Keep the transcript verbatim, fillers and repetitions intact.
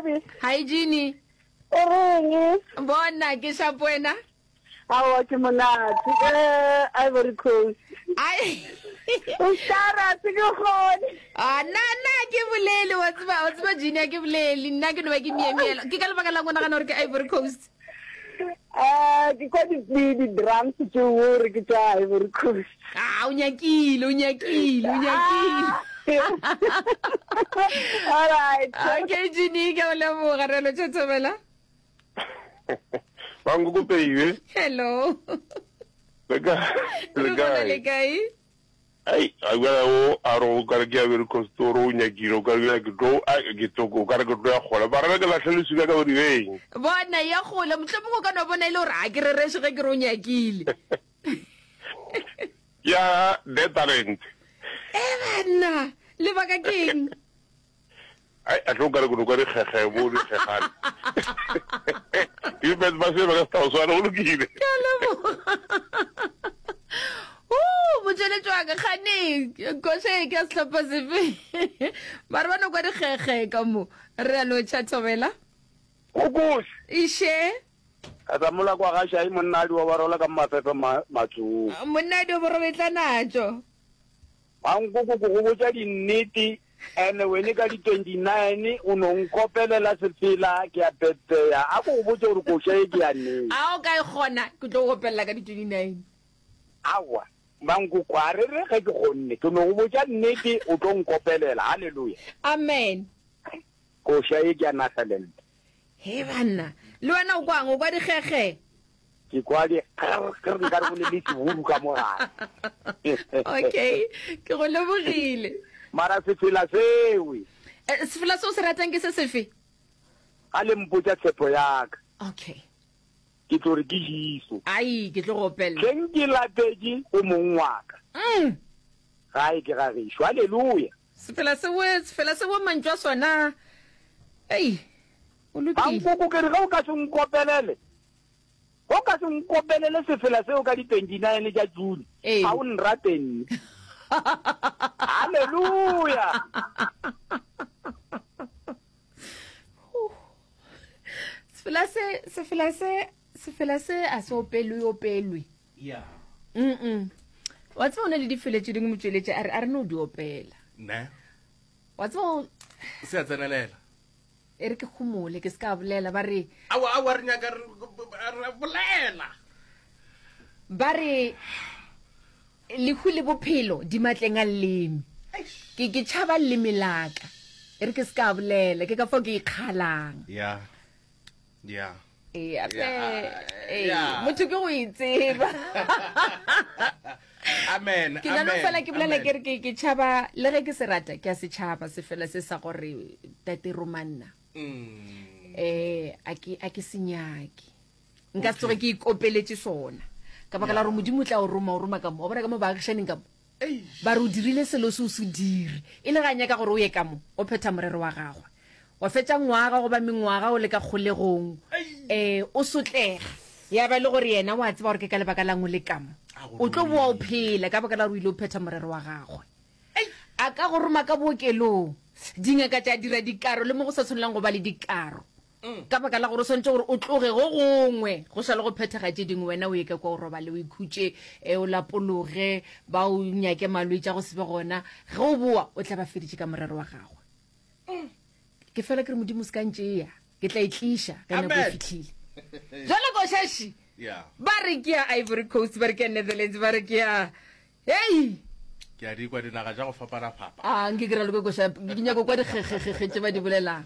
baby. Hi Jeannie. O reng? Bona ke sharp wena. Aowa ke monate. Eh, Ivory Coast. Ai. O stara se ke kgone. Ah, nna nna ke bolele wa tseba wa tseba Jeannie a ke bolele nna ke no ba ke miemiela. Ke ka lebaka la go nagana gore ke Ivory Coast. Eh, ke kwa di di di drums tšeo gore ke tša Ivory Coast. Ah, o nyakile, o nyakile, o nyakile. All right. Okay, Jeannie, ke a go leboga re lo tšhethobela. Bankoko Peiwe. Hello. Le kae? Le gona le kae? Ai, a bjale o a re o kare ke ya Ivory Coast o re o nyakile o kare ke tlo ai ke tlo o kare ke tlo ya kgole ba re ke lahle leswika ka bodibeng. Bona ya kgole mohlomongwe o ka no bona e le gore a ke rereše ge ke re o nyakile. Ya Netherlands. E banna, lebaka ke eng? Ai, a tlo kare ke no kwa dikgekge bo dikgegane. Dipet ba se ba ka setao swana go lokile. Ke a leboga. Uh, motšweletši wa ka kgane koša e ke ya sehlopha sefe? Mare ba no kwa dikgekge ka mo. Re a lotšha thobela. Kokoši. Iše. Ka tsa mola kwa ga Shai monna a di obarola ka mafefe ma matsong. Monna a di oborobetla natšo. Mankoko ko go botša dinnete ene wene ka di twenty nine o no nkopelela sefela ke a pepeya a ko go botše gore koša ye ke ya neng. A o ka e kgona ke tlo go opelela ka di twenty nine. Aowa Mankoko a re re ge ke kgonne ke no go botša nnete o tlo nkopelela hallelujah. Amen. Koša ye ke ya Nagaland. He banna le wena o kwang o kwa dikgekge? Ke kwa di grr grr nkare go ne le seburu ka mo gare. Okay, ke go lebogile. Mara sefela sewe. Eh, sefela se o se ratang ke se sefe? Ga le mpotša tshepo ya ka. Okay. Ke tlo re ke Jesu. Ai, ke tlo go opelela. Hleng ke lapetše go mong wa ka. Mm. Gae ke ga gešo. Haleluya. Sefela sewe, sefela sewe mantšu a sona. Ei, o lokile. Mankoko ke re ge o ka se nkopelele. Ge o ka se nkopelele sefela seo ka di twenty nine tša June, Ee. ga o nrate nne. Haleluya! Sefela se, sefela se, sefela se a se opelwe opelwe. Yeah. Mm-mm. Wa tseba o na le difela tše dingwe motšweletši a re a re no di opela. Ne. Wa tseba o Se a tsenelela. E re ke homole ke se ka bolela ba re Aowa, aowa, re nyaka re, re bolela. Ba re lehu le bophelo di matleng a leleme. Ke ke tšhaba leleme la ka. E re ke se ka bolela, ke ka fao ke ikgalang. Ya. Ya. Ee, ape, ee, motho ke go itseba. Amen. Ke na no fela ke bolela ke re ke ke tšhaba le ge ke se rata ke a se tšhaba se fela se sa gore tate romanna. Mm. Eh a ke a ke se nyake. Nka se tsoge ke ikopeletše sona. Ka baka la gore Modimo o tla o roma o roma ka mo. Wa bona ka mo baagišaning ka mo. Ba re o dirile selo se o se dire. E le ga a nyaka gore o ye ka mo, o phetha morero wa gagwe. Wa fetša ngwaga goba mengwaga o le ka kgolegong, e, o sotlega. Ya ba e le gore yena o a tseba gore ke ka lebaka la'ng o le ka mo. O tlo boa o phela ka baka la gore o ile o phetha morero wa gagwe. A ka go roma ka bookelong, dingaka tša dira dikaro le mo go sa swanelang go ba le dikaro. Ka baka la gore o swanetše gore o tloge go gongwe go sa le go phethega tše dingwe, wena o ye ka kwa o robale o ikhutše, e, o lapologe, ba o nyake malwetši a go se be gona. Ge o boa o tla ba feditše ka morero wa gagwe. Ke fela ke re Modimo se ka ntšea, ke tla e tliša ge nako e fihlile. Jwale košaši ba re ke ya Ivory Coast, ba re ke ya Netherlands, ba re ke ya hei. Ke a di kwa dinaga tša go fapana-fapa. A nke ke raloke koša, ke nyako kwa dikgekgekgekge tše ba di bolelang.